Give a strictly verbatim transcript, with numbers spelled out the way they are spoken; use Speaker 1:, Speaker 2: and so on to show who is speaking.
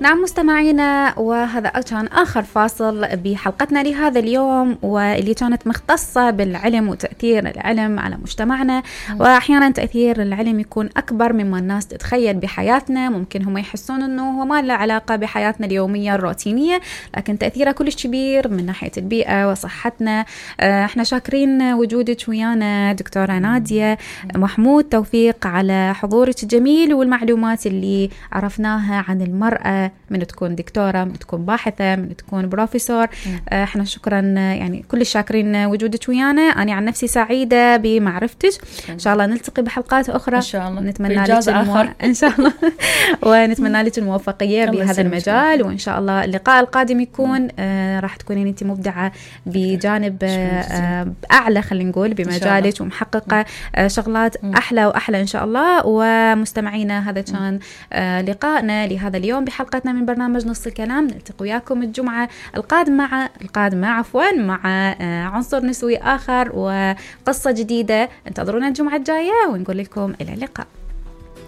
Speaker 1: نعم مستمعينا، وهذا كان آخر فاصل بحلقتنا لهذا اليوم، واللي كانت مختصة بالعلم وتأثير العلم على مجتمعنا. وأحيانا تأثير العلم يكون أكبر مما الناس تتخيل بحياتنا. ممكن هم يحسون أنه هو ما له علاقة بحياتنا اليومية الروتينية، لكن تأثيره كلش كبير من ناحية البيئة وصحتنا. احنا شاكرين وجودك ويانا دكتورة نادية محمود توفيق على حضورك الجميل والمعلومات اللي عرفناها عن المرأة، من تكون دكتورة، من تكون باحثة، من تكون بروفيسور. احنا شكرا، يعني كل الشاكرين وجودك ويانا. أنا عن نفسي سعيدة بمعرفتك. إن شاء الله نلتقي بحلقات أخرى
Speaker 2: إن شاء الله،
Speaker 1: نتمنى لك المو... إن شاء الله ونتمنى لك الموفقية بهذا المجال. وإن شاء الله اللقاء القادم يكون آه راح تكونين أنت مبدعة بجانب آه أعلى، خلينا نقول بمجالك، ومحققة آه شغلات أحلى وأحلى إن شاء الله. ومستمعينا، هذا كان آه لقائنا لهذا اليوم بحلقتنا من برنامج نص الكلام. نلتقي وياكم الجمعة القادمة مع القادمة عفوا مع عنصر نسوي آخر وقصة جديدة. انتظرونا الجمعة الجاية ونقول لكم إلى اللقاء.